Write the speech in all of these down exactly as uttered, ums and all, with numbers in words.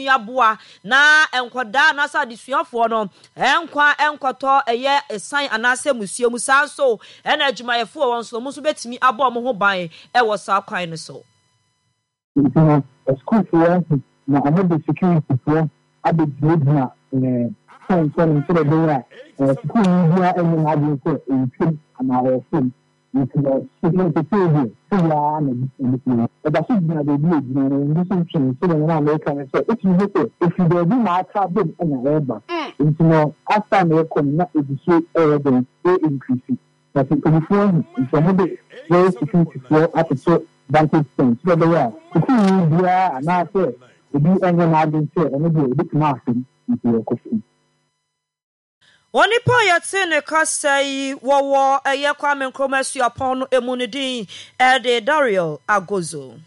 Aboa na nkɔdaa anaasɛ adesuafoɔ no nkwa nkɔtɔ ɛyɛ ɛsan anaasɛ musuo mu. Saa nso ɛna adwumayɛfoɔ wɔn nso wɔn nso bɛtumi abɔ wɔn ho ban ɛwɔ saa kwan no so. Nti no, asukuufoɔ ahu na wɔde securityfoɔ abɛgyinagyina ɛɛ fɛn no sɛdeɛ ɛbɛyɛ a ɛɛ sukuuni biara nyɛ n'adwene sɛ ɔretwam anaa ɔrefam. Nti no, security deɛ, sɛ yaa na ɛbi fi ɛda so gyina baabi a egyina no, ɛno nso ntwɛn sɛdeɛ wɔn a Amerika no sɛ etumi ho sɛ efi baabi na aka bom ɛna ɛreba. Nti no, as time ɛrekɔ no, na egu so ɛyɛ den ɛ increase na sɛ mpanyinfoɔ ahu nti, wɔn de very securityfoɔ atoto vantage point sɛ ɛbɛyɛ a sukuuni biara anaasɛ obi ɛnyɛ n'adwene sɛ ɔno deɛ ebitumi asɛm nti ɛkɔ fam. Onipa a yɛte ne kasa yi wɔwɔ ɛyɛ Kwame Nkrumah Suapɔn no emu, ne din ɛde Dario Agozo.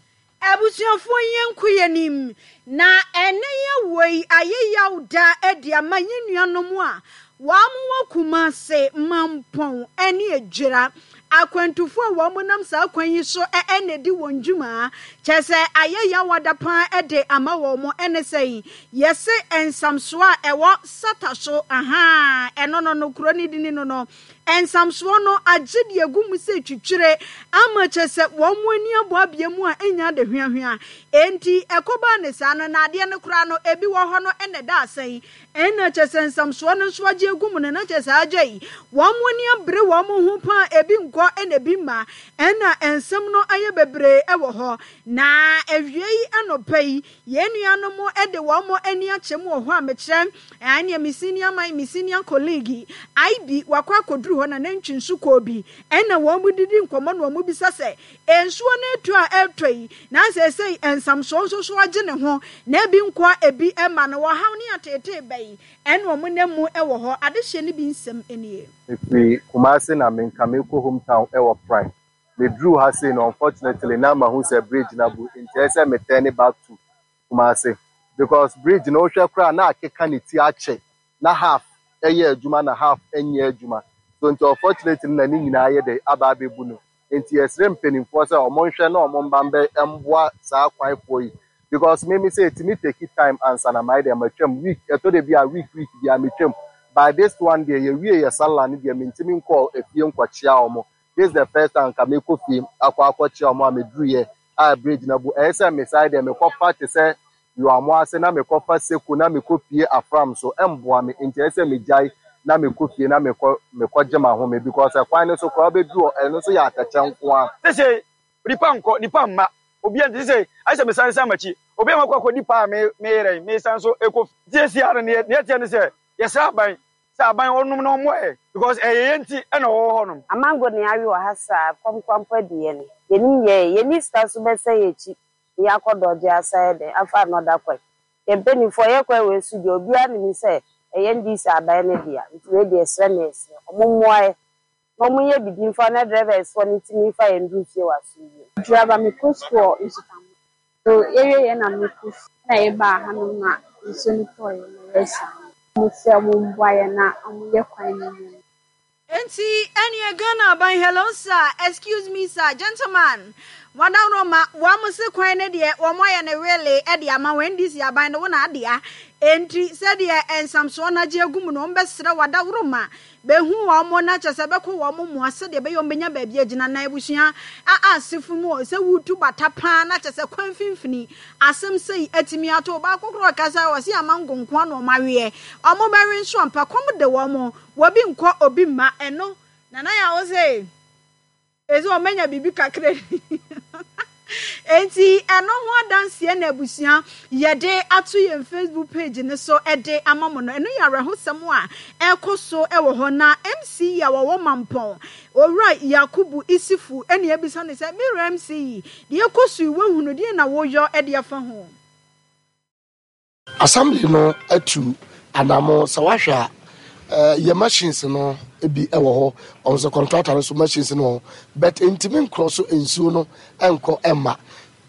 Abusuafoɔ, yɛn nko yɛ nim na ɛnɛ yɛ wɔ yi ayɛ yaw da adi ama yɛn nuanom a wɔn wɔ Kumase, Mampɔn ne Adwira akwantufoɔ a wɔn nam saa kwan yi so ɛna di wɔn dwuma. Kyɛ sɛ ayɛ yaw ada paa de ama wɔn. Ɛne sɛ yɛse nsamsoɔ a ɛwɔ Sata so aha, ɛno no no kuro ne dini no no nsamsoɔ no agye deɛ gu mu sɛ twitwire ama kyɛ sɛ wɔn mu ani abɔ abea mu a ɛnya ade hweahwea. Enti ɛkɔbaa ne saa no, na adeɛ no koraa no ebi wɔ hɔ no ɛna ɛda asɛn, ɛna kyɛ sɛ nsamsoɔ no nso agye egu mu no, na kyɛ sɛ agye yi wɔn mu ani abere wɔn ho paa. Ebi nkɔ ɛna ebi mma, ɛna nsɛm no ayɛ bebree ɛwɔ hɔ. Na awie yi anɔpa yi, yɛn nuanom de wɔn ani akyɛ mu wɔ hɔ a mekyerɛ ɛneɛ me senior man, me senior colleague I B wakɔ akɔduru hɔ na nantwi nso kɔɔ bi, ɛna wɔn mu didi nkɔmmɔ na wɔn bisa sɛ nsuo no etu a ɛretɔ yi na sɛ sɛ nsamsoɔ nso so agye ne ho na ebi nkɔ ebi ɛma no wɔhaw ne ateetee bɛyi ɛna wɔn nam mu ɛwɔ hɔ. Adehyɛ no bi nsɛm nie. Mefiri Kumase na menka mekɔ hometown ɛwɔ Prime. Meduru ha sei no, unfortunately na mahu sɛ bridge na bu, nti ɛyɛ sɛ me turn back to Kumase because bridge no, wohwɛ koraa na akeka ne ti akyɛ na half ɛyɛ adwuma na half ɛnyɛ adwuma so. Nti unfortunately na ne nyinaa yɛ dɛ aba abɛbu no. Nti yɛsrɛ mpanimfoɔ sɛ ɔmo nhwɛ na ɔmo mba mbɛ mboa saa kwanfoɔ yi because me me sɛ etimi take time ansa na mayɛ dɛ matwam week. Ɛtɔ de bi a week week bi a metwam. By this one deɛ, yɛwie yɛ sala no deɛ, mentimi nkɔ efie nkɔkyea ɔmo. This is the first time nka mekɔ fie akɔ akɔkyea ɔmo a meduruyɛ a bridge na bu. Ɛyɛ sɛ mesae deɛ mekɔfa te sɛ yoamo ase na mekɔfa Seko na mekɔ pie Afram so, ɛmboa me. Nti ɛyɛ sɛ megyae na mekɔ fie na mekɔ mekɔgye m'ahome because ɛkwan no so koraa wobɛduru hɔ, ɛno nso yɛ atɛkyɛ nko a. Sese nipa nkɔ, nipa mma, obi nti sese ayɛ sɛ mesan san m'akyi. Obi a makɔ akɔdi paa me meyerɛ mesan so ekɔ nti esi ara ne neɛ teɛ ne sɛ yɛsrɛ aban sɛ aban ɔnom na ɔmmoa yɛ because ɛyɛ yɛn nti ɛna ɔwɔ hɔnom. Amango ne awe wɔ ha saa kɔm adi yɛn yɛnim yɛ yɛni sika so bɛsɛ yɛ akyi ne yɛakɔ dɔgye asa yɛ dɛn afa anɔda kwan. Yɛn mpanimfoɔ yɛ kwan wɔ esu deɛ, obiara nim sɛ ɛyɛ N D C aban no dea. Nti wei deɛ, ɛsrɛ ne ɛsrɛ ɔmo mmoa yɛ na ɔmo nyɛ bibi mfa na drivers foɔ no ntumi mfa yɛn duru fie wɔ asomdwie. Driver, mekɔ sukuu wɔ Nsutamu so. Yɛwie yɛ na mekɔ fie na yɛbaa hanom na nsuo no tɔɔyɛ na yɛsa mo sɛ ɔmo mboa yɛn na ɔmo yɛ kwan no mu. Enti ɛneɛ Ghana aban, hello sir, excuse me sir, gentleman wadaroma wɔn se kwan no deɛ, wɔn ayɛ no wele ɛde ama wɔn. N D C aban no wɔn adea. Enti sɛdeɛ nsamsoɔ no agye agu mu no, wɔn bɛsrɛ wadaworoma bɛhu wɔn na kyɛ sɛ bɛkɔ wɔn mmoa sɛdeɛ ɛbɛyɛ wɔn bɛnya baabi agyina. Na abusua a asefo mu sɛ wutu bata paa na kyɛ sɛ kwan mfimfini asɛm sɛyi atumi ato baako korɔ kasa wɔ se amango nko ano ɔmo aweɛ ɔmo bɛwe nso ampa kɔm de wɔn wɔbi nkɔ obi mma. Ɛno nana yɛ awo sɛ ezi wɔn mɛnya biribi kakra. Enti ɛno ho adanseɛ na abusua yɛde ato yɛn Facebook page ne so ɛde ama mo no. Ɛno yɛ awerɛhosɛm a ɛkɔ so ɛwɔ hɔ. Na M C E a wɔwɔ Mampɔn, Owura Yakubu Isifu, ɛne ebisa ne sɛ mewura M C E, deɛ ɛkɔ so yi wahunu deɛ na woyɔ ɛde afa ho. Assembly no atu anamo sɛ wahwɛ a uh, yɛ machines no bi wɔ hɔ. Ɔno sɛ contractor no so machines no wɔ hɔ, but ntumi nkorɔ so nsuo no nkɔ mma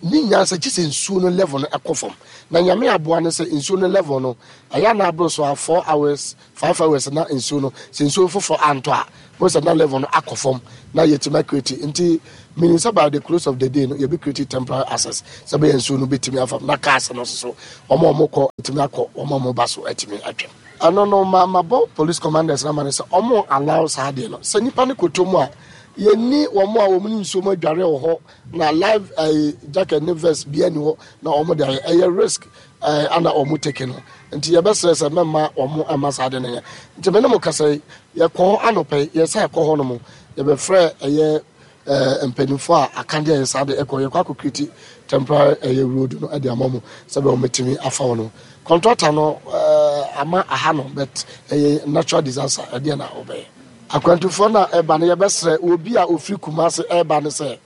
ne nyansa kyi sɛ nsuo no level no ɛkɔ fam. Na Nyame aboa no sɛ nsuo no level no ɛyɛ ana aboro so a four hours, five hours na nsuo no sɛ nsuo foforɔ antɔ a mo sɛ na level no akɔ fam na yɛtumi acreate. Nti Meaning sɛ by the close of the day no, yɛbɛ create temporary access sɛ bɛyɛ nsuo no bɛtumi afa na cars no nso so, wɔn a wɔkɔ atumi akɔ, wɔn a wɔba so atumi atwam. Ɛno no, ma mabɔ police commanders no ama no sɛ wɔn allow saa adeɛ no sɛ nipa no kɔtɔ mu a, yɛnni wɔn a wɔn ne nsuo mu adware wɔ hɔ na life ɛɛ jacket ne vest bi ani hɔ na wɔn de ayɛ, ɛyɛ risk ɛɛ ana wɔn take no. Nti yɛbɛsrɛ sɛ mɛma wɔn ɛma saa adeɛ no yɛ. Nti mɛ ne mo kasa yi, yɛkɔ hɔ anɔpɛ yi, yɛsɛ ɛkɔ hɔ nom, yɛbɛfrɛ ɛyɛ ɛɛ mpanimfoɔ a akadeɛ yɛ saa de ɛkɔ, yɛkɔ akɔ create temporary ɛyɛ road no ɛde ama mo sɛ bɛ wɔn bɛtumi afa wɔn no. Contractor no ɛɛ ama aha no, but ɛyɛ natural disaster, ɛdeɛ na ɔbɛyɛ. Akwantufoɔ no a ɛba no, yɛbɛsrɛ obi a ofiri Kumase ɛba no sɛ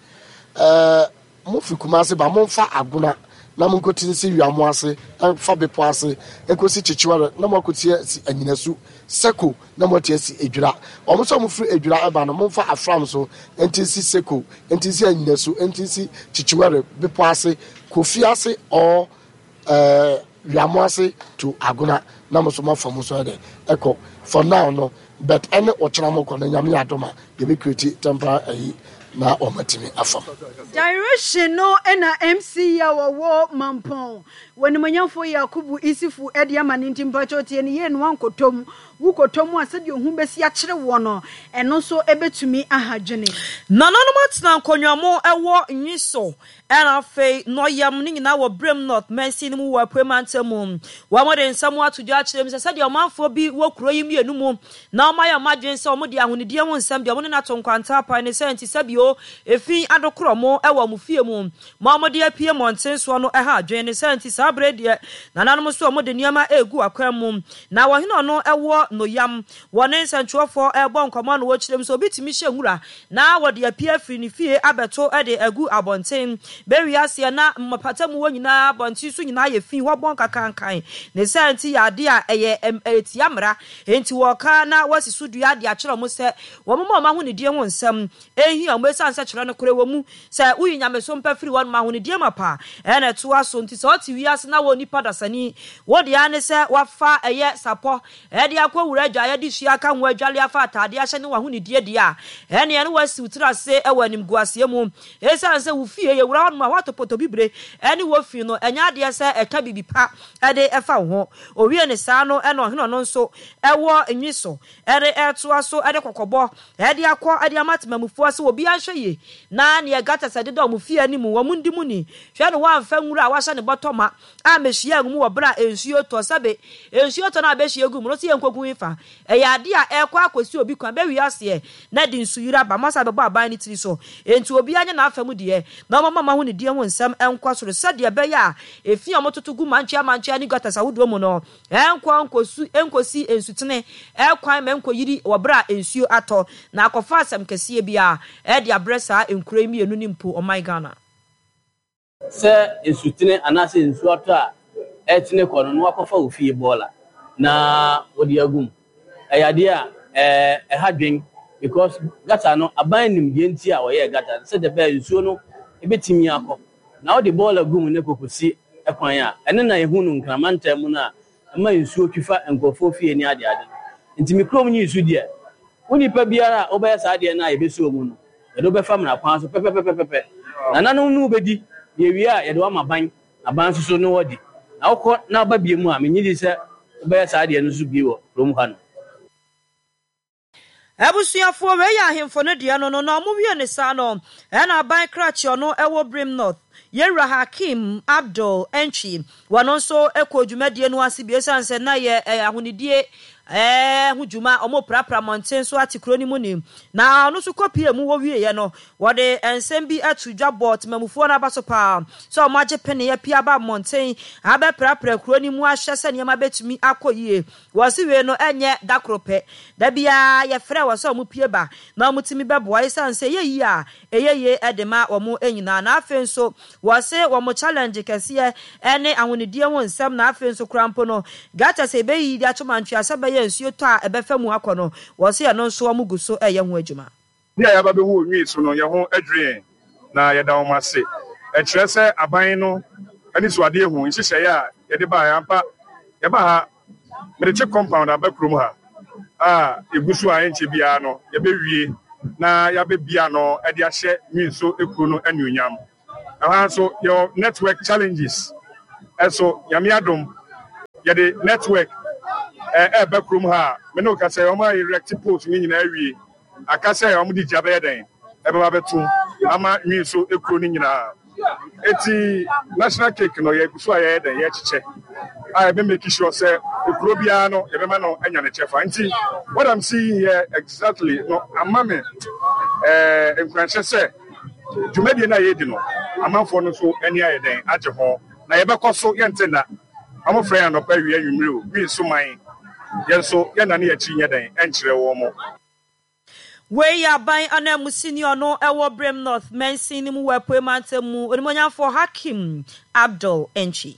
ɛɛ mofiri Kumase ba, momfa Agona na monkɔti nsi Wiamo ase, ɛmfa bepɔ ase ɛkɔsi Kyekyewa na moakɔti asi Anyinasu Seko na moati asi Edwira. Wɔn nso a mofiri Edwira ɛba no, momfa Afram so nti nsi Seko, nti nsi Anyinasu, nti nsi Kyekyewere bepɔ ase, Kofi ase or ɛɛ Wiamo ase to Agona na mo nso moafa mu nso ɛdɛ ɛkɔ for now no. But ɛne ɔkyena mo kɔ no, Nyame yɛ adom a, yɛbɛ create temporary ayi na wɔn atumi afa mu. Direction no na M C a wɔwɔ Mampɔn wɔnimonyamfoɔ Yakubu Isifu de ama no. Nti mpakyɛw, tie no yie no, wankɔtɔ mu. Wokɔtɔ mu a, sɛdeɛ ohu bɛsi akyere woɔ no, ɛno nso bɛtumi aha dwene. Nananom atena nkonnwa mu wɔ Nwi so, ɛna afei Nɔyam ne nyinaa wɔ Birim North mansin no mu wɔ Apuei Mantam mu. Wɔde nsɛm ato dwa akyerɛ mu sɛ sɛdeɛ ɔmanfoɔ bi wɔ kuro yi mmienu mu na wɔayɛ wɔn adwene sɛ wɔde ahonidie ho nsɛm deɛ wɔne no ato nkwanta apae ne sɛ nti sɛbio efi adokorɔ mo wɔ wɔn fie mu ma wɔde apue mmɔnten soɔ no ɛha adwene ne sɛ nti saa berɛ deɛ nananom nso wɔde nneɛma egu akwan mu. Na wɔhene ɔno ɛwɔ Noyam wɔne nsɛntwerɛfoɔ ɛrebɔ nkɔmmɔ no, wɔkyerɛ mu sɛ obi tumi hyɛ nwura na wɔde apue afiri ne fie abɛto de agu abɔnten bɛwi aseɛ na mmapata mu hɔ nyinaa, abɔnten so nyinaa yɛ fi hɔ bɔn kakankan ne sɛ nti yɛ adeɛ a ɛyɛ ɛyɛ tia mmara. Nti wɔka na wɔasi so dua de akyerɛ wɔn sɛ wɔn ma wɔn ahonidie ho nsɛm ehia wɔn, esiane sɛ kyerɛ no korɛ wɔ mu sɛ woyi nyameso mpa firi wɔn ahonidie ma pa ɛna ɛtoa so. Nti sɛ ɔte wiase na wɔ nipa dasani wɔde ara ne sɛ wafa ɛyɛ sapɔ ɛde akɔ wura adwa yɛde sua aka ho adwale afa ataadeɛ ahyɛ ne wahonidie deɛ a, ɛne ɛne wasi wo tiri ase ɛwɔ animguaseɛ mu, esiane sɛ wo fie yɛwura hɔ nom a woato pɔtɔ bibire ɛne wɔ fi no, ɛnyɛ adeɛ sɛ ɛka biribi pa ɛde ɛfa wo ho. Owie ne saa no, ɛna ɔhene ɔno nso ɛwɔ Nwi so ɛde ɛtoa so ɛde kɔkɔbɔ ɛde akɔ ɛde ama temamufoɔ sɛ obi anhwɛ yie na neɛ gutters ɛdeda wɔn fie anim wɔn ndi mu ni hwɛ no, wɔamfa nwura a wahyɛ ne bɔtɔ ma a mehyia ngu mu wɔ berɛ a nsuo tɔ. Sɛbe nsuo tɔ no a bɛhyia gu mu no sɛ yɛnkɔgu fa ɛyɛ adeɛ a ɛkɔ akɔsi obi kwan bɛwie aseɛ na de nsuyiri aba masa bɛbɔ aban no tiri so. Enti obiara nyɛ n'afa mu deɛ na ɔmama ma ho ne die ho nsɛm ɛnkɔ soro sɛdeɛ ɛbɛyɛ a efi a wɔtoto gu mankyea mankyea ne gutters ahodoɔ mu no ɛnkɔ nkɔsu nkɔsi nsutene ɛkwan ma nkɔyiri wɔ berɛ a nsuo atɔ na akɔfa asɛm kɛseɛ bi a ɛde abrɛ saa nkuro yi mmienu ne mpo ɔman Ghana. Sɛ nsutene anaasɛ nsuo atɔ a ɛtene kɔ no na wakɔfa wo fie bɔɔla na wɔde agu mu, ɛyɛ adeɛ a ɛɛ ɛha dwen, because gutter no, aban nim deɛ nti a wɔyɛɛ gutter no sɛdeɛ bɛyɛ nsuo no ebɛtumi akɔ, na wɔde bɔɔla gu mu ne kɔkɔsi ɛkwan a ɛno na ehu no nkramantam mu no a ɛma nsuo twi fa nkurɔfoɔ fie ne adeade no. Nti me kurom nyi nsu deɛ, wo nipa biara a wobɛyɛ saa adeɛ no a yɛbɛsi mu no, yɛde wobɛfa mmara kwan so pɛpɛpɛpɛpɛ. Nananom no wobɛdi deɛ wie a, yɛde wama ban aban nso so ne wɔdi na wokɔ na woba bie mu a, menye di sɛ wobɛyɛ saa adeɛ no nso bie wɔ kurom ha no. Abusuafoɔ, wei yɛ ahemfo no deɛ no no na ɔmo wie ne saa no, ɛna aban krakye ɔno ɛwɔ Birim North, yɛwura Hakim Abdul Entwi, wɔno nso kɔ dwumadie no ase bi, esiane sɛ na yɛ ahonidie ɛɛ ho dwuma ɔmo prapra mmɔnten so ate kuro no mu ni na ɔno nso kɔpie mu. Wɔwieɛ no, wɔde nsɛm bi ato dwa bɔ temamufoɔ no aba so paa sɛ ɔmo agye pene apue aba mmɔnten abɛprapra kuro no mu ahyɛ sɛ nneɛma bɛtumi akɔ yie. Wɔsi wei no ɛnyɛ da koro pɛ, da biara yɛfrɛ wɔ sɛ ɔmo pie ba na ɔmo tumi bɛboa, esiane sɛ ɛyɛ yie a ɛyɛ yie ɛde ma wɔn nyinaa. Na afei nso wɔse wɔn challenge kɛseɛ ɛne ahonidie ho nsɛm, na afei nso kora mpo no gutter sɛ ɛbɛyi de ato mantwea sɛ bɛyɛ nsuo tɔ a ɛbɛfa mu akɔ no, wɔse ɛno nso wɔn gu so ɛyɛ ho adwuma. Bi a yɛaba bɛhu Onwi so no, yɛn ho adwiri yɛn na yɛda wɔn ase. Ɛkyerɛ sɛ aban no ani so adeɛ hu nhyehyɛeɛ a yɛde baeɛ ampa. Yɛba ha, mede CHPS compound aba kurom ha a ɛgu so a ɛnkyɛ biara no yɛbɛwie. Na yɛabɛbia no de ahyɛ Nwinso kuro no anuonyam. Ɛhɔ nso yɛwɔ network challenges. Ɛso Nyame adom, yɛde network ɛɛba kurom ha a me ne wo ka sɛ wɔn a erect poles ne nyinaa awie, aka sɛ wɔn de gya bɛyɛ dɛn ɛbɛba bɛto ama Nwinso kuro no nyinaa. Eti national cake no, yɛgu so a yɛyɛ dɛn yɛkyekyɛ a yɛbɛ make sure sɛ ekuro biara no yɛbɛma no anya ne kyɛfa. Nti what I'm seeing here exactly no ama me ɛɛ nkuranhyɛ sɛ dwumadie no a yɛredi no, amanfoɔ no nso ani ayɛ dɛn agye ho, na yɛbɛkɔ so. Yɛnte nna, wɔn frɛ yɛn anɔpa, awia, anwummere o, wi nso man yɛn nso yɛnna ne yɛakyi nyɛ dɛn ɛnkyerɛ wɔn mo. Wei yɛ aban ananmusini ɔno ɛwɔ Birim North mansin no mu wɔ Apue Mantam mu, onimonyamfoɔ Hakim Abdul Entry.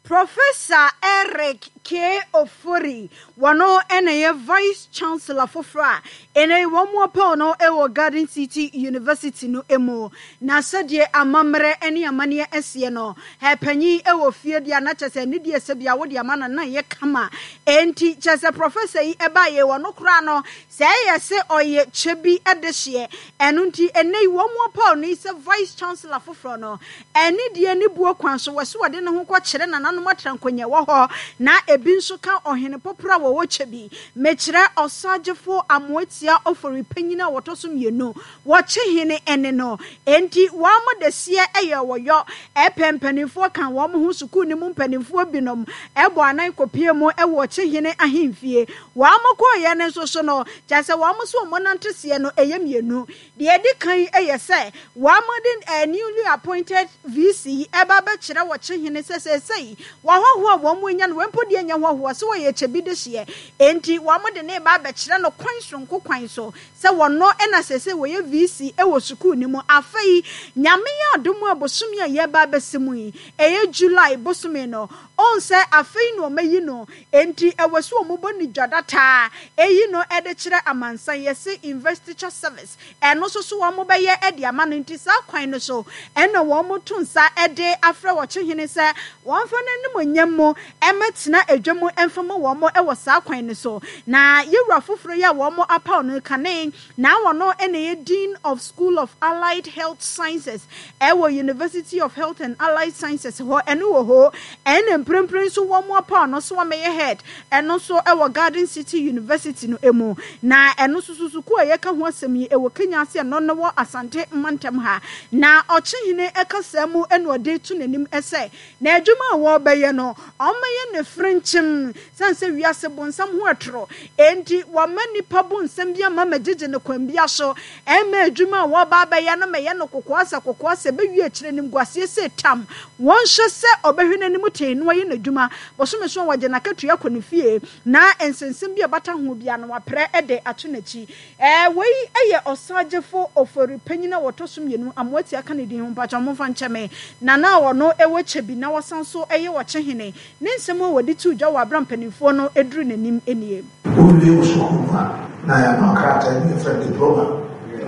Professor Eric K. Ofori, wɔno ɛna yɛ Vice Chancellor foforɔ a ɛnɛ wɔn mu apɛw no ɛwɔ Garden City University no mu. Na sɛdeɛ amammerɛ ne amanneɛ ɛseɛ no, ɛpanyin ɛwɔ fie deɛ na kyɛ sɛ ne deɛ sɛ bia wode ama no na yɛ kama. Enti kyɛ sɛ professor yi ɛbaeɛ, wɔno koraa no sɛ ɛyɛ sɛ ɔyɛ kyɛ bi ɛde hyeɛ ɛno. Nti ɛnɛ yi wɔn mu apɛw no yi sɛ Vice Chancellor foforɔ no, ɛne deɛ ne buo kwan so wɔ so wɔde ne ho kɔkyerɛ nananom atra nkonnwa wɔ hɔ, na ebi nso ka ɔhene pɔporɔ a wɔwɔ kyɛ bi, mekyerɛ Ɔsagyefo Amoatia Ofori Panyin a wɔtɔ so mmienu, wɔkye hene ɛne no. Enti wɔn mo de seɛ ɛyɛ wɔyɔ ɛpɛ mpanimfoɔ ka wɔn ho, sukuu ne mu mpanimfoɔ binom ɛbɔ anan kɔpie mu ɛwɔ ɔkye hene ahemfie. Wɔn mo kɔɔyɛ no nso so no, kyerɛ sɛ wɔn mo so wɔn nante seɛ no ɛyɛ mmienu. Deɛ ɛdi kan yɛ sɛ wɔn de eh, newly appointed V C ɛba bɛkyerɛ wɔkye hene sɛ sɛsɛyi wɔahɔhoɔ a wɔn mu anya no, wɔn mpo deɛ nyɛ hɔhoɔ sɛ wɔyɛ kyɛ bi de hyeɛ. Enti wɔn de ne ba abɛkyerɛ no kwan soronko kwan so sɛ wɔno ɛna sɛsɛ wɔyɛ V C ɛwɔ sukuu no mu. Afei Nyame yɛ adom a, bosome a yɛba abɛsi mu yi, ɛyɛ July bosome no, ɔn sɛ afei na ɔmayi no. Enti ɛwɔ so wɔn bɔ ne dwadataa eyi no ɛde kyerɛ amansan, yɛsi investiture service, ɛno nso so wɔn bɛyɛ ɛde ama no. Nti saa kwan no so ɛna wɔn to nsa ɛde afrɛ wɔkye hene sɛ wɔn fa n'anim onyam mu ɛmɛtena edwa mu ɛmfa ma wɔn ɛwɔ saa kwan no so. Na yɛwura foforɔ yi a wɔn apaw no kane na wɔn ɛna yɛ Dean of School of Allied Health Sciences ɛwɔ University of Health and Allied Sciences hɔ, ɛno wɔ hɔ, ɛna mprempren nso wɔn apaw no so wɔmɛyɛ head, ɛno nso ɛwɔ Garden City University no emu. Na ɛno nso so sukuu a yɛka ho asɛm yi ɛwɔ Kenya ase, ɛno no wɔ Asante mantam ha. Na ɔkyehene ɛkasa mu ɛna ɔde to n'anim ɛsɛ na adwuma a wɔrebɛyɛ no, ɔmmɛyɛ ne firinkyim sɛn sɛ wiase bonsam ho ɛtoro. Enti wɔma nipa bonsam bi ama magyegye ne kwan bi aso ɛma adwuma a wɔreba abɛyɛ no mɛyɛ no kokoa sɛ kokoa sɛ bɛwie akyerɛ nim guaseɛ sɛ tam. Wɔnhyɛ sɛ ɔbɛhwɛ n'anim tee na ɔyɛ n'adwuma bɔsome so a wɔgye n'akatua kɔ ne fie, na nsensɛm bi a ɛbata ho bia no waprɛ de ato n'akyi. ɛɛ wei yɛ Ɔsagyefo Ofori Panyin a wɔtɔ so mmienu, Amoatia ka ne din ho, mpakyɛ momfa nkyɛ me, nana a ɔno ɛwɔ kyɛ bi na wɔsan so ɛyɛ ɔkyehene, ne nsɛm a wɔde too dwa wɔ abera mpanimfoɔ no duru n'anim nie. Wowie wo sukuu mu a, na yɛama krataa bi yɛfrɛ diploma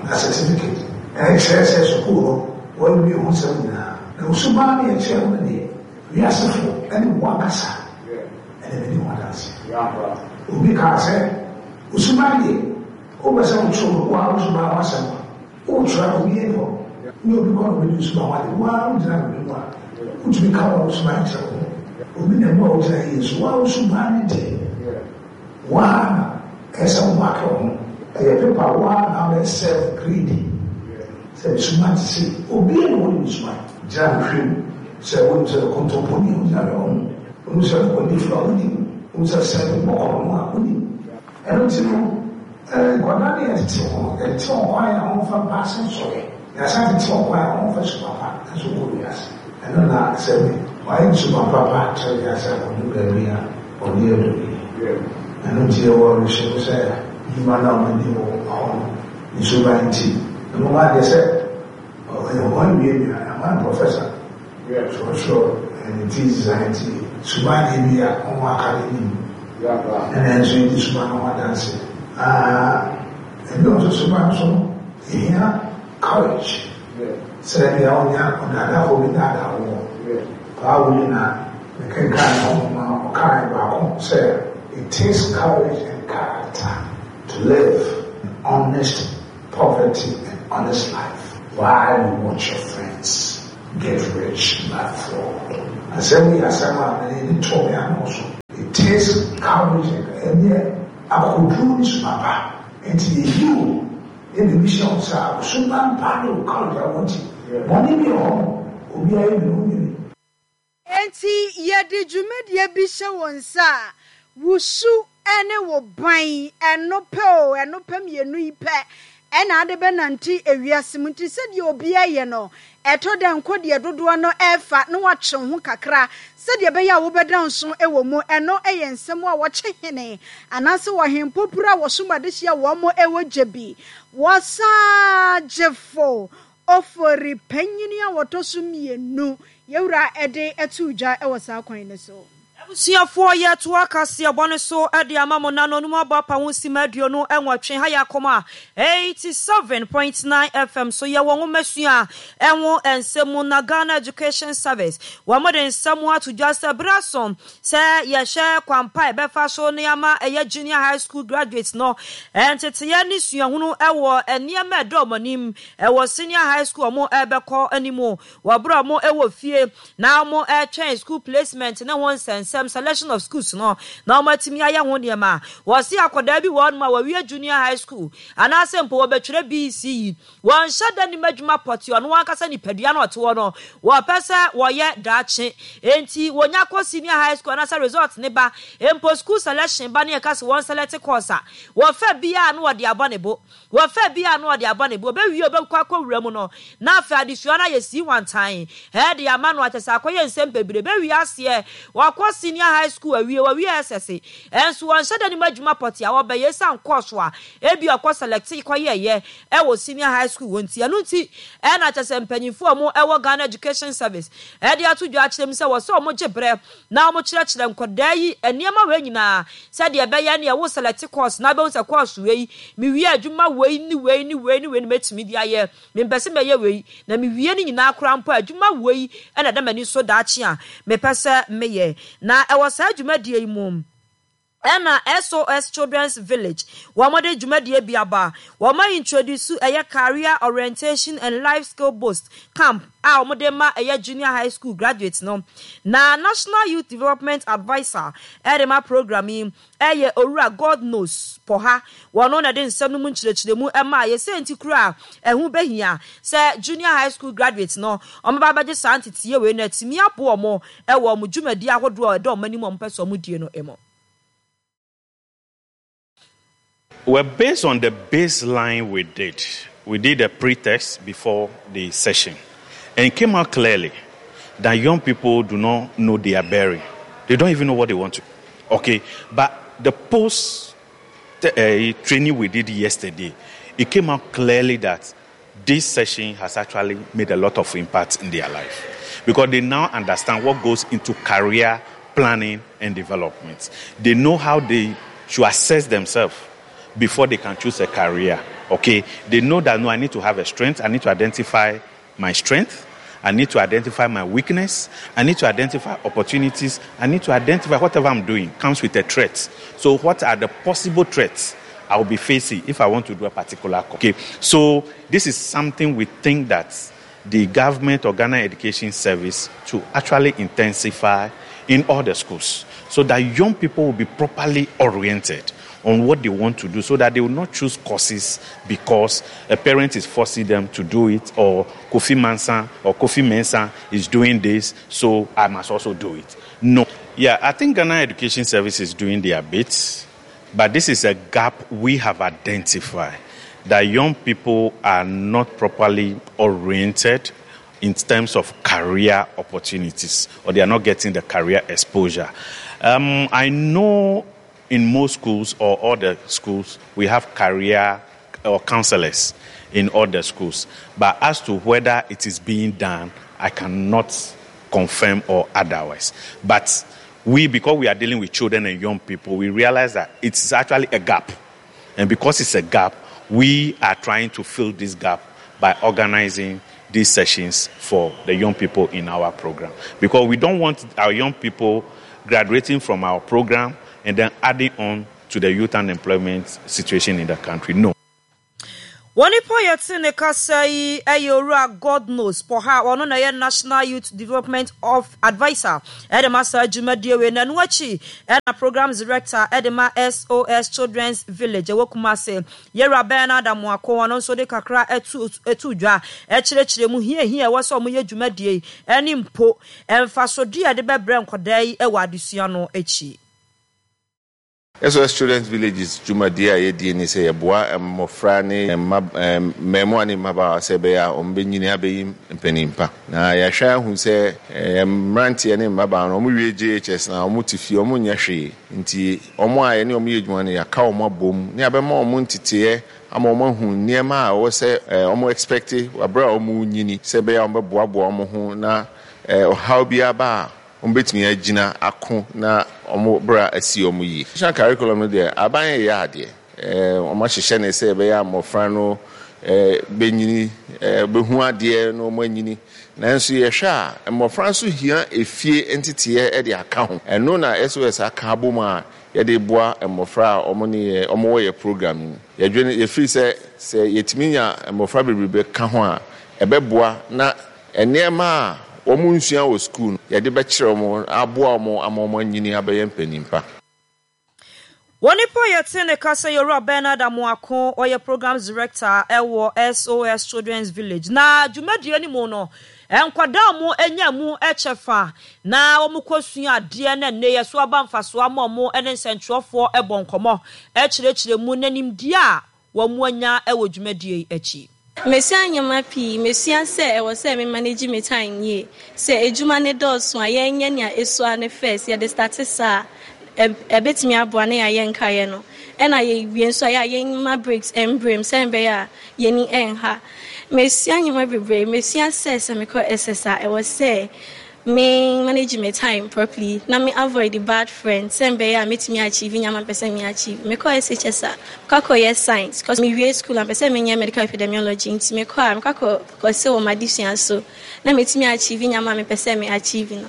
na certificate. Ɛkyerɛ sɛ sukuu no wɔawie ho nsɛm nyinaa. Na wo suban ne yɛkyerɛ ho no deɛ, wiasefo ne wo ankasa ɛna bɛdi ho adanse. Obi kaa sɛ wo suban deɛ, wopɛ sɛ wotwerɛ wo a wo suban ho asɛm a wotwerɛ a, obi ani hɔ ne obi kɔ na obɛdi wo suban ho ade. Wo a wogyina baabi mu a wotumi ka wo suban kyerɛ wo ho, obi na mu a wogyina yie so, wo a wo suban ne deɛ, wo a na ɛsɛ wo maake wo ho. Ɛyɛ pepa, wo a na wobɛ self grade sɛ me suban te sɛ obi a na wɔne me suban gyina hwehwɛ mu sɛ wonim sɛ kontomponi a wogyina hwɛ wo ho, wonim sɛ ɔdifo a wonim, wonim sɛ sɛ bɔkɔ no a wonim. Ɛno nti no, nkwadaa no yɛtete wɔn, yɛtete wɔn kwan a wɔmfa mpaase nsɔre, yɛasan tete wɔn kwan a wɔmfa suban pa nso nkɔ wiase. Ɛno na sɛ wɔayɛ ne suban papa kyerɛ wiase a, wɔdu baabi a ɔde adu yi. Ɛno nti yɛwɔ awerɛhyɛmu sɛ nnwuma no a wɔadi wɔ hɔ no ne suban nti ɛno adeɛ sɛ ɔyɛ wɔn awie bi a ɛma no professor twerɛtwerɛ ne thesis a, nti suban deɛ bi a wɔn aka ne nim, ɛna nso yɛdi suban no ho adanse. Ebi nso suban so no ehia courage sɛ bia ɔnya ɔdaadaafo bi daadaa wɔ paa wuli na mekenkan ne ho ma ɔkae baako sɛ it takes courage and character to live an honest poverty and honest life while you watch your friends get rich by fraud. Asɛm yi yɛ asɛm a mede de too me ano so. It takes courage and ɛnyɛ akokoduru ne suma pa. Enti yɛyi wo na biribi hyɛ wo nsa a, wo suban pa ne wo courage a wowɔ nti, bɔne bi wɔ hɔ no, obiara yɛ bi no, wonyɛ bi. Enti yɛde dwumadie bi hyɛ wo nsa a, wo su ne wo ban, ɛno pɛ o, ɛno pɛ mmienu yi pɛ na ade bɛnante ewiase mu. Nti sɛdeɛ obiara yɛ no, ɛtɔ da nko deɛ dodoɔ no refa na woatwe wo ho kakra sɛdeɛ ɛbɛyɛ a wobɛda nso wɔ mu. Ɛno yɛ nsɛm a wɔkye hene anaasɛ ɔhempopuro a wɔsom adehyeɛ a wɔn wɔ gye bi. Wɔsagyefo Ofori panyin a wɔtɔ so mmienu, yɛn wura de too dwa wɔ saa kwan no so. Abusuafoɔ yɛtoa kaseɛbɔ no so de ama mo na nonum abɔ apa ho simma aduonu nwɔtwe ha yɛ akoma eighty seven point nine F M so yɛwɔ nwomasua ho nsɛm mu na Ghana Education Service wɔn de nsɛm ato dwa sɛ berɛ aso sɛ yɛhwɛ kwan pa a ɛbɛfa so ne ama ɛyɛ junior high school graduates no nteteeɛ ne suahunu wɔ nneɛma ɛdɔ wɔn anim ɛwɔ senior high school wɔn ɛbɛkɔ anim wɔ berɛ a wɔn ɛwɔ fie na wɔn ɛretwɛn school placement ne ho nsɛnsɛm, selection of schools no, na wɔn atumi ayɛ ho nneɛma. Wɔsi akwadaa bi wɔ hɔnom a wɔawie junior high school anaasɛ mpo wɔbɛtwerɛ B E C E, wɔnhyɛ da nim adwuma pɔte. Ɔno ankasa nipadua no ɔte hɔ no, wɔpɛ sɛ wɔyɛ daakye enti wɔnya kɔ senior high school anaasɛ result ne ba mpo, school selection ba ne yɛka sɛ wɔn select course a wɔfɛ biara no, wɔde abɔ ne bo, wɔfɛ biara no, wɔde abɔ ne bo. Ɔbɛwie, ɔbɛkɔ akɔwura mu no na afei adesua no ayɛ sii wantan ɛde ama no akyɛ sɛ akɔyɛ nsɛm bebree. Bɛwie aseɛ, wakɔ senior high school awie, wawie S S ɛnso wɔnhyɛ da nim adwuma pɔte a wɔbɛyɛ ɛsiane course a ebi ɔkɔ select kɔyɛɛyɛ ɛwɔ senior high school wɔ nti. Ɛno nti ɛna kyɛ sɛ mpanyinfoɔ a wɔn ɛwɔ Ghana Education Service ɛde ato dwa akyerɛ mu sɛ wɔsɛ wɔn gye brɛ na wɔn kyerɛkyerɛ nkɔdaa yi nneɛma wei nyinaa sɛdeɛ ɛbɛyɛ ne ɛwɔ select course na abɛhu sɛ course wei, mewie adwuma wei ne wei ne wei ne wei ne mɛtumi de ayɛ. Mempɛ sɛ mɛyɛ wei na mewie no nyinaa koraa mpo, adwuma wei ɛna ɛda m'ani so daakye a mepɛ sɛ meyɛ. Na ɛwɔ saa dwumadie yi mu ɛna S O S Children's Village wɔn de dwumadie bi aba. Wɔn introduce ɛyɛ career orientation and life skill boost camp a wɔn de ma ɛyɛ junior high school graduates no, na National Youth Development Adviser ɛde ma program yi ɛyɛ Owura God Knows Pɔha. Wɔn na de nsɛm no mu nkyerɛkyerɛmu ɛma yɛsɛ nti kura a ɛho bɛhia sɛ junior high school graduates no wɔn ba abɛgye saa nteteɛ wei no atumi aboɔ wɔn ɛwɔ wɔn dwumadi ahodoɔ a ɛdɔ wɔn anim a wɔn pɛ sɛ wɔn die no mu. Well, based on the baseline we did, we did a pre-test before the session, and it came out clearly that young people do not know their bearing. They don't even know what they want to. Okay, but the post uh, training we did yesterday, it came out clearly that this session has actually made a lot of impact in their life because they now understand what goes into career planning and development. They know how they should assess themselves before they can choose a career. Okay, they know that, no, I need to have a strength. I need to identify my strength. I need to identify my weakness. I need to identify opportunities. I need to identify whatever I'm doing comes with a threat. So, what are the possible threats I will be facing if I want to do a particular course? Okay, so this is something we think that the government or Ghana Education Service to actually intensify in all the schools so that young people will be properly oriented on what they want to do, so that they will not choose courses because a parent is forcing them to do it, or Kofi Mansa or Kofi Mensah is doing this, so I must also do it. No. Yeah, I think Ghana Education Service is doing their bit, but this is a gap we have identified, that young people are not properly oriented in terms of career opportunities, or they are not getting the career exposure. Um, I know in most schools or all the schools, we have career or counselors in all the schools. But as to whether it is being done, I cannot confirm or otherwise. But we, because we are dealing with children and young people, we realize that it's actually a gap. And because it's a gap, we are trying to fill this gap by organizing these sessions for the young people in our program. Because we don't want our young people graduating from our program and then adding on to the youth unemployment situation in the country. No. Onipa a yɛte ne kasa yi yɛ Owura Godknows Poha, ɔno na ɛyɛ National Youth Development of Adviser de ma saa dwumadie wei, na ɛno akyi na Programs Director de ma S O S Children's Village ɛwɔ Kumasi, Yɛwura Bernard Amoako, ɔno nso de kakra to to dwa kyerɛkyerɛ mu hia hia ɛwɔ sɛ wɔyɛ dwumadie yi ne mpo mfasodeɛ a yɛde bɛbrɛ nkwadaa yi wɔ adesua no akyi. S O S Children's Villages dwumadie a yɛdie ne sɛ yɛboa mmɔfra ne mma mmɛɛmoa ne mmabaawa sɛ ɛbɛyɛ a wɔn bɛnyini abɛyi mpanin pa. Na yɛahwɛ ahu sɛ mmeranteɛ ne mmabaawa no, wɔn wie J H S na wɔn te fie, wɔn nyɛ hwee. Nti wɔn a yɛne wɔn yɛ adwuma no, yɛaka wɔn abom ne yɛabɛma wɔn nteteeɛ ama wɔn ahu nneɛma a ɛwɔ sɛ wɔn expect abere a wɔn nyini, sɛ ɛbɛyɛ a wɔn bɛboaboa wɔn ho na ɔhaw biara ba a, wɔn bɛtumi agyina ako na wɔn bra asi wɔn yie. National curriculum no deɛ, aban yɛ adeɛ. Wɔn ahyehyɛ ne sɛ ɛbɛyɛ a mmɔfra no bɛnyini, bɛhu adeɛ na wɔn anyini. Nanso yɛhwɛ a, mmɔfra nso hia efie nteteeɛ de aka ho. Ɛno na S O S aka abom a yɛde boa mmɔfra a wɔn ne yɛ wɔn wɔ yɛ program mu. Yɛdwene yɛfiri sɛ sɛ yɛtumi nya mmɔfra bebree ka ho a, ɛbɛboa na nneɛma a wɔn nsua wɔ sukuu no, yɛde bɛkyerɛ wɔn, aboa wɔn ama wɔn anyini abɛyɛ mpanin pa. Onipa a yɛte ne kasa yɛ Owura Bernard Amoako, ɔyɛ Programs Director ɛwɔ S O S Children's Village. Na dwumadie no mu no, nkwadaa a wɔn anya mu kyɛfa na wɔn kɔsua adeɛ na nnɛ yɛ so aba mfasoɔ ama wɔn ne nsɛntwerɛfoɔ bɔ nkɔmmɔ kyerɛkyerɛ mu na nimdeɛ a wɔn anya wɔ dwumadie yi akyi. Mesua nneɛma pii. Mesua sɛ ɛwɔ sɛ me manage me time yie. Sɛ edwuma ne dɔɔso a, yɛnyɛ nea esua ne first. Yɛde start saa a, ɛbɛtumi aboa na yɛayɛ nkaeɛ no. Ɛna yɛwie nso a, yɛ a yɛmma breaks mbrɛ mu sɛ ɛbɛyɛ a yɛni ɛnha. Mesua nneɛma bebree. Mesua sɛ sɛ mekɔ S S a, ɛwɔ sɛ me manage my time properly na me avoid the bad friends sɛ mbɛyɛ a metumi achieve nneɛma mpɛ sɛ me achieve. Mekɔ S H S a, mekɔ akɔyɛ science cause mewie school a, mpɛ sɛ menyɛ medical epidemiology, nti mekɔ a, mekɔ akɔ kɔsɛ wɔ m'adesua so na metumi achieve nneɛma a mepɛ sɛ me achieve no.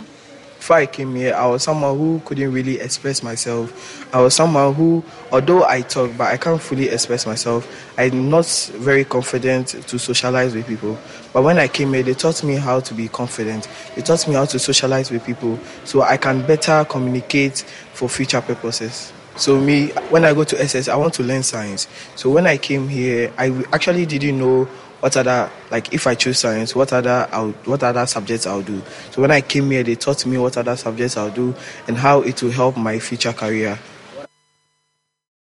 Before I came here, I was someone who couldn't really express myself. I was someone who, although I talk, but I can't fully express myself. I'm not very confident to socialize with people. But when I came here, they taught me how to be confident. They taught me how to socialize with people so I can better communicate for future purposes. So me, when I go to S S, I want to learn science. So when I came here, I actually didn't know what other, like, if I choose science, what other I'll, what other subjects I'll do. So when I came here, they taught me what other subjects I'll do and how it will help my future career.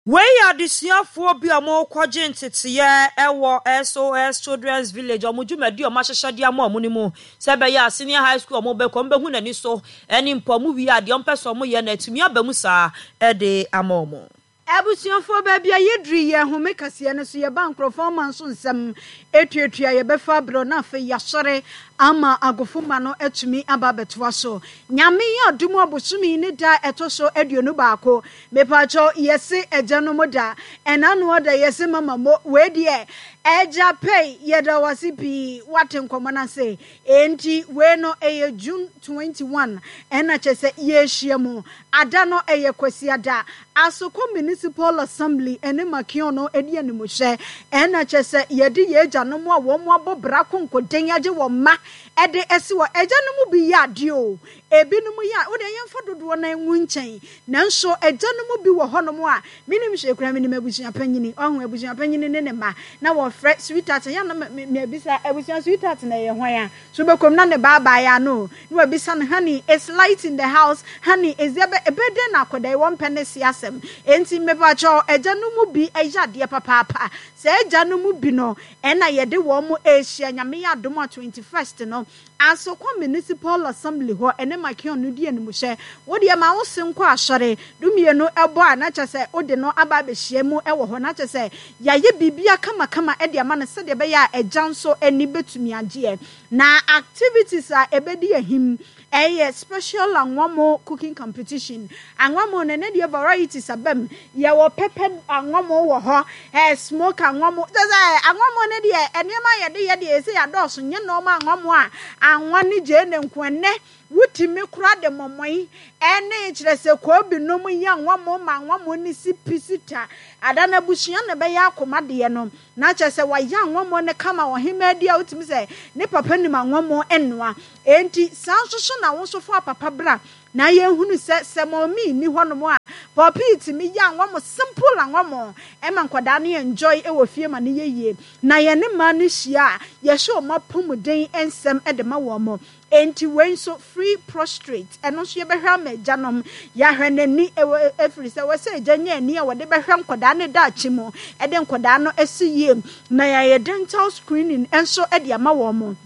Wei yɛ adesuafoɔ bi a wɔrekɔgye nteteeɛ wɔ S O S Children's Village, wɔn dwumadi a wɔahyehyɛ de ama wɔn no mu, sɛ ɛbɛyɛ a senior high school a wɔbɛkɔ, wɔbɛhu n'ani so ne mpo wɔn wie a, deɛ wɔmpɛ sɛ wɔyɛ no atumi aba mu saa de ama wɔn. Abusuafoɔ, baabi a yɛduru yɛ home kaseɛ no so, yɛba nkurɔfoɔ ama nso nsɛm etuatua yɛbɛfa aberɛ na afei yɛasɔre ama agofomma no atumi aba abɛtoa so. Nyame yɛ adom, abosome ne da ɛtɔ so aduonu baako, mepaakyɛw, yɛse agyanom da, ɛna no ɔda yɛse mama mo. Wei deɛ ɛgya pɛi, yɛda wase pii. Wate nkɔmmɔ no ase. Enti wei no ɛyɛ June twenty-one, ɛna kyɛ sɛ yɛahyia mu ada no ɛyɛ Kwasiada. Asokwa Municipal Assembly ɛne Makion no ɛdi animhyɛ, ɛna kyɛ sɛ yɛde yɛ agyanom a wɔn abɔ bra konkoden agye wɔn mma ɛde ɛsi wɔ. Agyanom bi yɛ adeɛ o, ebinom yɛ a wode yɛmfa dodoɔ no ngu nkyɛn, nanso agyanom bi wɔ hɔnom a menim hwɛ kura. Menim abusua panyini, ɔho abusua panyini ne ne mma na wɔfrɛ sweetheart yɛ na mebisa abusua sweetheart na ɛyɛ hwan a so bɛkɔm na ne baabaa ano na wabisa no, "Honey, is light in the house? Honey, is there?" Ɛbɛdɛn na akɔda yi wɔmpɛ ne se asɛm. Enti mepakyɛw, agya no mu bi ɛyɛ adeɛ papaapa. Sɛ agya no mu bi no ɛna yɛde wɔn mo ɛrehyia. Nyame yɛ adom a, twenty-first no, Asokwa Municipal Assembly hɔ ɛne Makion no di animhyɛ. Wodeɛ ma wo se nkɔ asɔre dumienu ɛbɔ a, na kyɛ sɛ wode no aba abɛhyia mu ɛwɔ hɔ, na kyɛ sɛ yɛayɛ biribia kamakama ɛde ama no sɛdeɛ ɛbɛyɛ a agya nso ani bɛtumi agyeɛ. Na activities a ɛbɛdi ahim ɛyɛ special anwamo cooking competition. Anwamo no ne deɛ varieties abam, yɛwɔ pepper anwamo wɔ hɔ, ɛɛ smoke anwamo, kyɛ sɛ anwamo no deɛ nneɛma yɛde yɛ deɛ ɛsɛ yɛadɔɔso, nyɛ nneɛma anwamo a anwa ne gyeene nko. Ɛnɛ Wotumi koraa de mɔmɔe ne kyerɛ sɛ koobi nom yɛ anwamoo ma anwamoo no si pi si ta. Ada no abusua na ɛbɛyɛ akoma deɛ no. Na kyerɛ sɛ wayɛ anwamoo no kama ɔhemaa di a wotumi sɛ ne papa nim anwamoo nnoa. Enti saa nso so na wo nso fa papa bra na yɛnhunu sɛ sɛ mɔmee nni hɔnom a pɔpii tumi yɛ anwamoo simple anwamoo ɛma nkwadaa no enjoy wɔ fie ma no yɛ yie. Na yɛne mmaa no hyia a yɛhyɛ wɔn apɔmuden nsɛm de ma wɔn. Enti wei nso free prostrate ɛno nso yɛbɛhwɛ ama agyanom yɛahwɛ n'ani ɛwɔ ɛfiri sɛ wɔsɛ agya nya ani a wɔde bɛhwɛ nkwadaa ne daakye mu ɛde nkwadaa no asi yie na yɛayɛ dental screening nso de ama wɔn.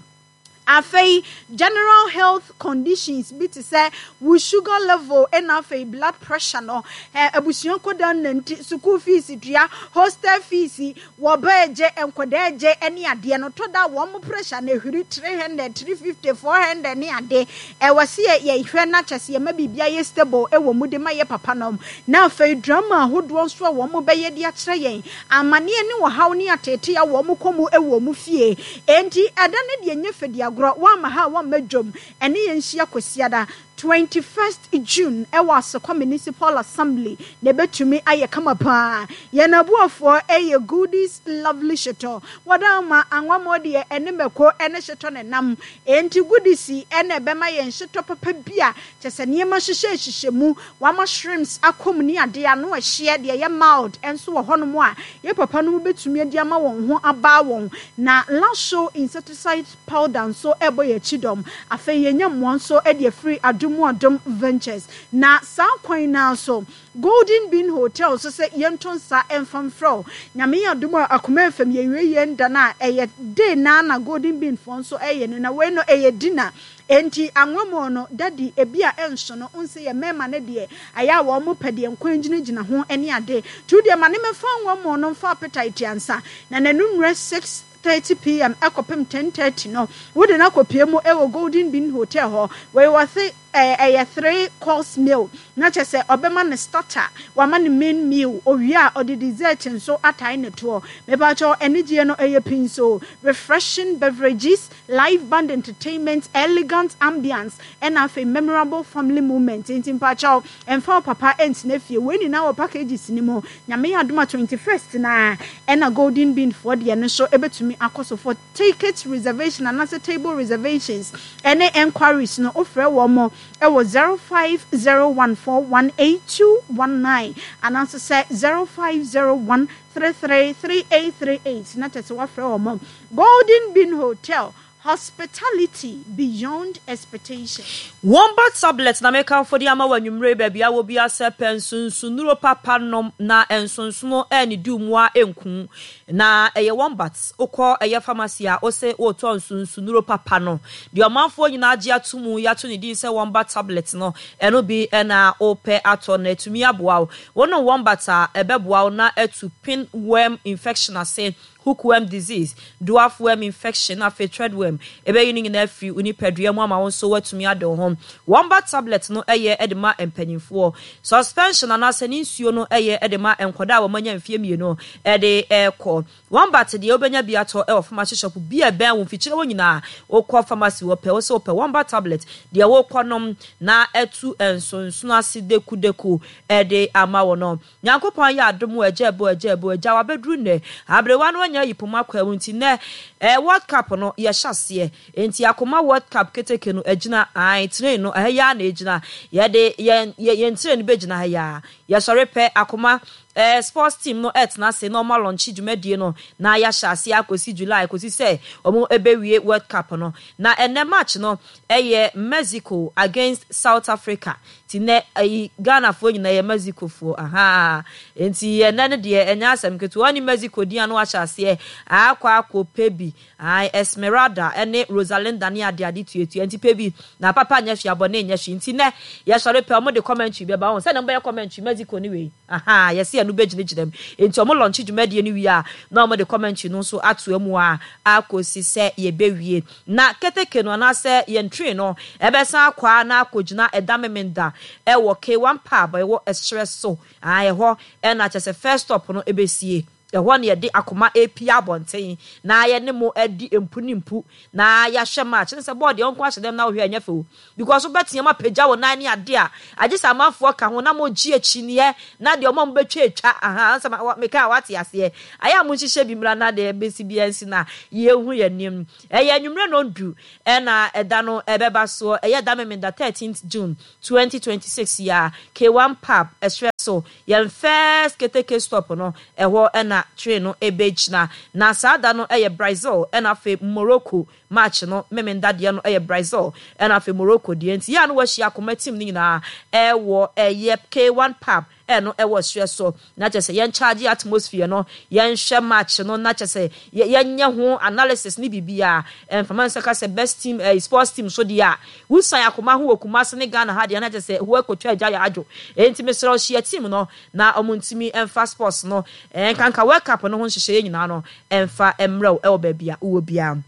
Afei general health conditions bi te sɛ wo sugar level ɛna afei blood pressure no ɛ abusua nkɔdaa nanti school fees tua hostel fees wɔba agye nkɔdaa agye ɛne adeɛ no tɔ da wɔn pressure na ehwiri three hundred three fifty four hundred ne ade ɛwɔ se yɛ yɛhwɛ na kyɛ sɛ yɛma biribi ayɛ stable ɛwɔ mu de ma yɛ papa nom na afei drama ahodoɔ nso a wɔn bɛyɛ de akyerɛ yɛn amanneɛ ne ɔhaw ne atete a wɔn kɔ mu ɛwɔ mu fie enti ɛda ne deɛ nyɛ fɛdi agorɔ wɔama ha a wɔmma dwom ɛne yɛn nhyia kwasiada twenty first June ɛwɔ Asokwa Municipal Assembly na ebetumi ayɛ kama paa yɛn aboafoɔ ɛyɛ Goodies Lovely Hyetɔ wɔde ama anwamɔ deɛ ɛne mɛko ɛne hyetɔ ne nam enti goodies ɛna ɛbɛma yɛn hyetɔ papa bi a kyɛ sɛ nneɛma hyehyɛ hyehyɛ mu wama shrimps akɔm ne adeɛ ano ɛhyeɛ deɛ ɛyɛ mild ɛnso wɔ hɔnom a yɛ papa no bɛtumi adi ama wɔn ho abaa wɔn na Lasho insecticide powder nso ɛbɔ yɛn akyi dɔm afei yɛnya mmoa nso ɛde afiri Adom Adom Ventures na saa kwan naa so Golden Bean Hotel nso sɛ yɛnto nsa ɛmfa mfrɛ Nyame yɛ adom a Akoma F M yɛwie yɛn da no a ɛyɛ day naa na Golden Bean foɔ nso ɛyɛ no na wei no ɛyɛ dinner enti anwamoo no daddy ebi a ɛnso no nsɛ yɛ mmarima no deɛ ayɛ a wɔn pɛ deɛ nkwan gyinagyina ho ne ade tu deɛ ma ne mɛfa anwamoo no mfa appetite ansa na n'anummerɛ six thirty p m ɛkɔpem ten thirty no wode no akɔpie mu ɛwɔ Golden Bean Hotel hɔ. Wei wɔse ɛyɛ three course meal na kyerɛ sɛ ɔbɛma no starter, wama no main meal, owie a ɔde dessert nso atae ne toɔ. Mepakyɛw anigyeɛ no ɛyɛ pii nso refreshing beverages, live band entertainment, elegant ambience ɛna afei memorable family moment. Nti mpakyɛw ɛmfa wo papa ɛntena fie. Wei nyinaa wɔ packages ni mu. Nyame yɛ adom a twenty first na ɛna Golden Bean foɔ deɛ no nso ɛbɛtumi akɔ so. For ticket reservation anaasɛ table reservations ɛne enquiries no, wofrɛ wɔn mo ɛwɔ zero five zero one four one eight two one nine anaasɛ sɛ zero five zero one three three three eight three eight na kyerɛ sɛ wafrɛ wɔn mo. Golden Bean Hotel, hospitality beyond expectation. Wombat tablet na mekamfo de ama wɔ anwummere baabi a wɔ bi asɛ pɛ nsonsonnuro papa nom na nsonsono ɛne di mu a ɛnku na ɛyɛ Wombat. Wokɔ ɛyɛ pharmacy a wose wotɔ nsonsonnuro papa no deɛ ɔmanfoɔ nyinaa gye ato mu yɛato ne din sɛ Wombat tablet no ɛno bi ɛna wopɛ atɔ na atumi aboa wo. Wonom Wombat a ɛbɛboa wo na atu pinworm infection ase, hookworm disease, dwarf worm infection, afei threadworm. Ɛbɛyi no nyinaa afiri wo nipadua mu ama wo nso woatumi ade wo ho. Wombat tablet no ɛyɛ de ma mpanyimfoɔ. Suspension anaasɛ ne nsuo no ɛyɛ de ma nkwadaa a wɔanya mfeɛ mmienu ɛde ɛrekɔ. Wombat deɛ wobɛnya bi atɔ ɛwɔ pharmacy shop bi a ɛbɛn wo mfikyire hɔ nyinaa. Wokɔ pharmacy wɔ pɛ wo sɛ wopɛ Wombat tablet deɛ wokɔ nom na ɛtu nsonsono ase dekudeku ɛde ama wo no. Nyankopɔn yɛ adom wɔ agya ɛbo agya ɛbo agya wabɛduru nnɛ. Aberewa no anya yi poma kwa mu nti nnɛ eh, World Cup no yɛhyɛ aseɛ. Nti Akoma World Cup keteke no agyina ae train no ɛha yi ara na ɛgyina. Yɛde yɛn yɛn train no bɛgyina ha yi ara. Yɛsɔre pɛ Akoma eh, sports team no ɛtena ase na ɔmo alɔnkye dwumadie no na yɛahyɛ aseɛ akɔsi July kɔsi sɛ ɔmo ɛbɛwie World Cup no. Na ɛnɛ match no ɛyɛ Mexico against South Africa. Nti nnɛ ɛyi Ghanafoɔ nyinaa yɛ Mexicofoɔ. Aha. Nti ɛnɛ no deɛ ɛnyɛ asɛm ketewa. Ɔne Mexico din ano ahyɛ aseɛ akɔ akɔ pɛ bi. Ae Esmeralda ɛne Rosalinda ne ade ade tuatua nti pɛ bi na papa nyɛ hwee abɔne nyɛ hwee nti nnɛ yɛsɔre pɛ ɔmo de commentary bɛba wɔn sɛdeɛ ɔmo bɛyɛ commentary Mexico ne wei. Aha yɛsi ɛno bɛgyinagyina mu nti ɔmo launch dwumadie no wie a na ɔmo de commentary no nso ato mu a akɔsi sɛ yɛbɛwie na keteke no anaasɛ yɛn train no ɛbɛsan akɔ a na akɔgyina ɛda memenda ɛwɔ K one pub ɛwɔ ɛserɛ so. Ah ɛhɔ ɛna kyerɛ sɛ first stop no ɛbɛsie. Ɛhɔ na yɛde akoma repue abɔnten na yɛne mo adi mpu ne mpu na yɛahwɛ match. Ne sɛ bɔɔl deɛ wo nko ahyɛ dɛm na wohwɛ a ɛnyɛ fɛ o. Because wobɛteam apagya wo nan ne adeɛ a, agye sɛ amanfoɔ ka ho na mogye akyinnyeɛ na deɛ wɔn a mobɛtwa atwa. Ahaa, sɛ meka a woate aseɛ. Ayɛ a monhyehyɛ bi mmra na deɛ ɛbɛsi biara nsi na yɛnhu yɛn anim. Ɛyɛ anwummerɛ nnɔndu na ɛda no ɛbɛba soɔ. Ɛyɛ da Memenda thirteenth June twenty twenty six yi ara, K one Pub, ɛserɛ so, yɛn first keteke stop no, ɛhɔ na train no bɛgyina. Na saa da no yɛ Brazil ɛna afei Morocco match no, Memenda deɛ no yɛ Brazil ɛna afei Morocco deɛ. Nti yɛ a na wɔahyia akoma team no nyinaa ɛwɔ ɛyɛ K one Pub ɛno ɛwɔ serɛ so. Na kyerɛ sɛ yɛn charge atmosphere no, yɛnhwɛ match no na kyerɛ sɛ yɛnyɛ ho analysis ne biribiara. Ɛmfa nsa ka sɛ best team ɛɛ sports team so deɛ a, wosan akoma ho wɔ Kumasi ne Ghana ha deɛ na kyerɛ sɛ wo akɔtwa agya yɛ adwo. Enti mesrɛ wo hyia team no na wɔn ntumi mfa sports no nkanka World Cup no ho nhyehyɛeɛ nyinaa no mfa mmerɛ wo ɛwɔ baabi a wowɔ biara.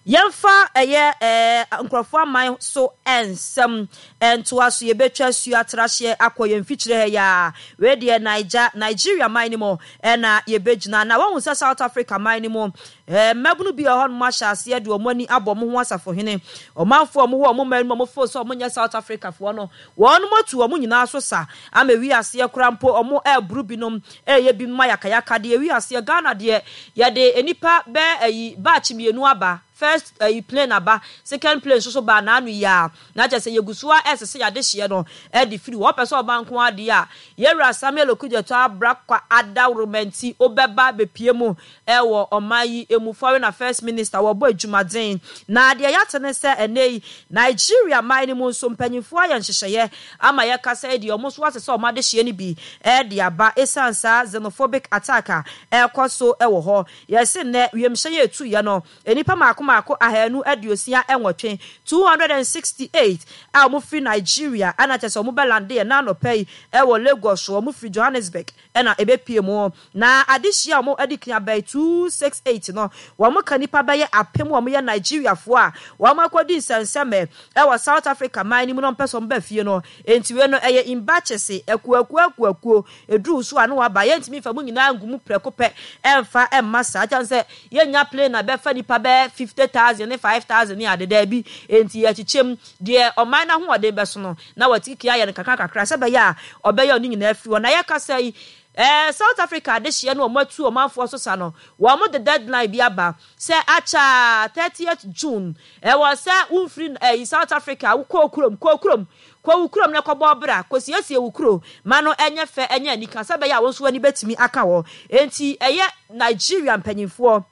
Yɛmfa ɛyɛ ɛɛ nkurɔfoɔ aman so nsɛm ntoa so. Yɛbɛtwa asuo atrahyeɛ akɔ yɛn mfikyire ha yi ara. Wei deɛ Naija, Nigeria man no mu na yɛbɛgyina. Na woahu sɛ South Africa man no mu, ɛɛ mmabunu bi wɔ hɔnom ahyɛ aseɛ de wɔn ani abɔ wɔn ho asafohene. Ɔmanfoɔ a wɔwɔ wɔn man no mu a wɔfeel sɛ wɔnyɛ South Africafoɔ no, wɔnom atu wɔn nyinaa so sa ama ɛwi aseɛ koraa mpo wɔreboro binom, reyɛ binom ayakayakadeɛ. Ɛwi aseɛ, Ghana deɛ yɛde nnipa bɛɛ ayi batch mmienu aba. First ayi plane aba, second plane nso so baa n'ano yi ara, na kyerɛ sɛ yɛgu so ara resese yɛn adehyeɛ no de firi hɔ. Wopɛ sɛ ɔba nko ara deɛ a, Yɛwura Samuel Okudzeto Abrah Adaworoma nti wobɛba abɛpue mu wɔ ɔman yi mu. Foreign Affairs Minister, wɔbɔ adwumaden. Na deɛ yɛate ne sɛ ɛnnɛ yi, Nigeria man no mu nso mpanimfoɔ ayɛ nhyehyɛeɛ ama yɛkasa yi deɛ, wɔn nso asesa wɔn adehyeɛ no bi de aba ɛsiane saa xenophobic attack a ɛrekɔ so wɔ hɔ. Yɛse nnɛ wiemhyɛn a ɛtuiɛ no, Nnipa mmaako mmaako ahanu aduosia nwɔtwe, two hundred and sixty eight, a wɔfiri Nigeria na kyerɛ sɛ wɔbɛlandeɛ nnɛ anɔpa yi wɔ Lagos, wɔfiri Johannesburg na ɛbɛpue mu. Na adehyeɛ a wɔadi kan aba yi, two six eight no, wɔka nnipa bɛyɛ apem a wɔyɛ Nigeriafoɔ a wɔakɔdi nsɛnsɛmɛ wɔ South Africa man no mu na wɔpɛ sɛ wɔba fie no. Enti wei no ɛyɛ in batches, akuakuo akuakuo, ɛduru so a na wɔaba. Yɛntumi mfa mo nyinaa ngu mu prɛko pɛ mfa mma saa, ɛsiane sɛ Yɛnnya plane a ɛbɛfa nnipa bɛyɛ fifty thousand ne five thousand ne ade, daabi. Enti yɛkyekyɛ mu, deɛ ɔman no ahoɔden bɛso no, na wɔatiki ayɛ no kakra kakra sɛ ɛbɛyɛ a ɔbɛyɛ ɔno nyinaa afiri hɔ. Na yɛkasa yi, eh, South Africa adehyeɛ no wɔatu ɔmanfoɔ so sa no, wɔde deadline bi aba sɛ akyɛ a thirtieth June, ɛwɔ sɛ womfiri eh, South Africa, wokɔ wo kurom, kɔ wo kurom, Kɔ wo kurom na kɔbɔ bra, kosiesie wo kuro ma no nyɛ fɛ nyɛ anika sɛ ɛbɛyɛ a wo nso w'ani bɛtumi aka hɔ. Enti ɛyɛ Nigeria mpanyinfoɔ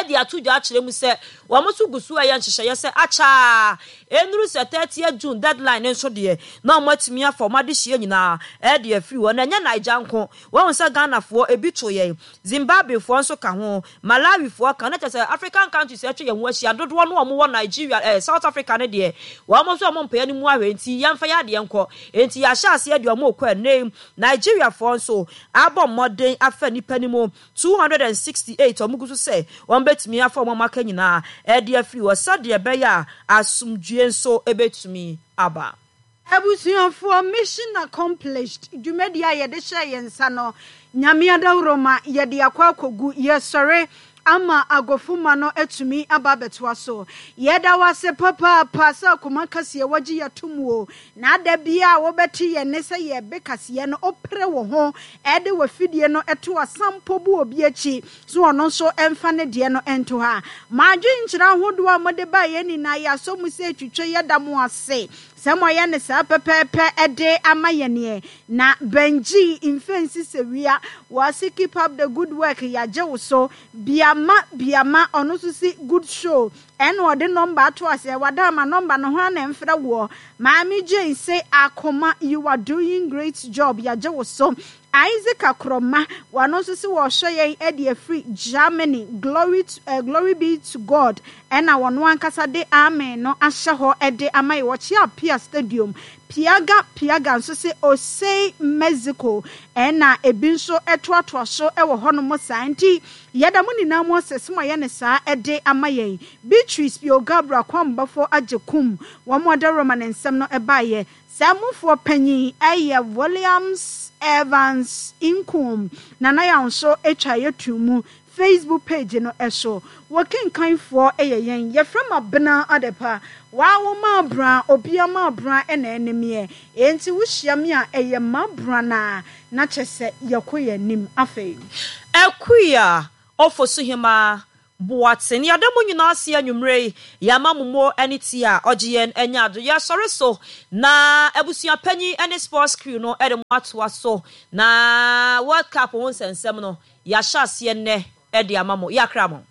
de ato dwa akyerɛ mu sɛ wɔn nso gu so reyɛ nhyehyɛeɛ sɛ akyɛ ara ɛnnuru sɛ thirtieth June deadline no nso deɛ na wɔn atumi afa wɔn adehyeɛ nyinaa de afiri hɔ. Na ɛnyɛ Naija nko, woahu sɛ Ghanafoɔ ebi to yɛn, Zimbabwefoɔ nso ka ho, Malawifoɔ ka ho, na kyerɛ sɛ African countries a atwa yɛn ho ahyia dodoɔ no a wɔwɔ Nigeria eh, South Africa no deɛ wɔn nso wɔn mpɛ yɛn mu ahwɛ nti yɛmfa yɛn adeɛ nkɔ. Enti yɛahyɛ aseɛ deɛ wɔn rekɔ ɛnnɛ yi. Nigeriafoɔ nso abɔ mmɔden afa nnipa no mu two hundred and sixty eight a wɔgu so sɛ wɔbɛtumi afa wɔn a wɔaka nyinaa de afiri hɔ sɛdeɛ ɛbɛyɛ a asomdwoeɛ nso bɛtumi aba. Abusuafoɔ, mission accomplished, dwumadie a yɛde hyɛɛ yɛn nsa no, Nyame adaworoma, yɛde akɔ akɔgu, yɛsɔre ama agofomma no atumi aba abɛtoa so. Yɛda wo ase papaapa sɛ akoma kaseɛ wagye yɛ atom o, na da biara a wobɛte yɛn nne sɛ yɛrebe kaseɛ no, wopere wo ho de w'afidie no to asampo bu obi akyi so ɔno nso mfa ne deɛ no nto ha. Mo adwenkyerɛ ahodoɔ a mode baeɛ nyinaa yɛasɔ mu sɛ ɛtwitwa, yɛda mo ase. Sɛ moayɛ no saa pɛpɛɛpɛ de ama yɛn ɛ. Na Benji mfɛnsi sɛ wia. Wɔse keep up the good work yagye wo so. Biama Biama ɔno nso se good show ɛna ɔde number ato aseɛ wada ama number no hwan na ɛmfrɛ woɔ. Maame Jane se Akoma you are doing great job yagye wo so. Isaac Akoroma wɔno nso se wɔrehwɛ yɛn de afiri Germany glory to, uh, glory be to God ɛna wɔno ankasa de amen no ahyɛ hɔ de ama yɛn. Wɔkyea Apia Stadium Piaga Piaga nso se Osei Mexico ɛna ebi nso toatoa so wɔ hɔnom saa. Nti yɛda mo nyinaa mo ase sɛ moayɛ no saa de ama yɛn. Beatrice Pio Gabriel Kwambafo Agyekum, wɔn adaworoma ne nsɛm no baeɛ. Saa mufoɔ panyin yɛ Williams Evans Nkum. Nana Yaw nso twaeɛ too mu Facebook page no so. Wo kenkanfoɔ yɛ yɛn. Yɛfrɛ me Abena Adepa. Waa wo m'abra, obia m'abra na ɛne meɛ. Enti wo hyia me a ɛyɛ m'abra no ara na kyɛ sɛ yɛkɔ yɛn anim. Afei. Akua Ofosuhemaa Boateng, yɛda mo nyinaa ase anwummere yi, yɛama mo mo ne ti a ɔgye yɛn anya ado. Yɛsɔre so na abusua panyin ne sports crew no de mo atoa so na World Cup ho nsɛnsɛm no, yɛahyɛ aseɛ nnɛ de ama mo. Yɛakra mo.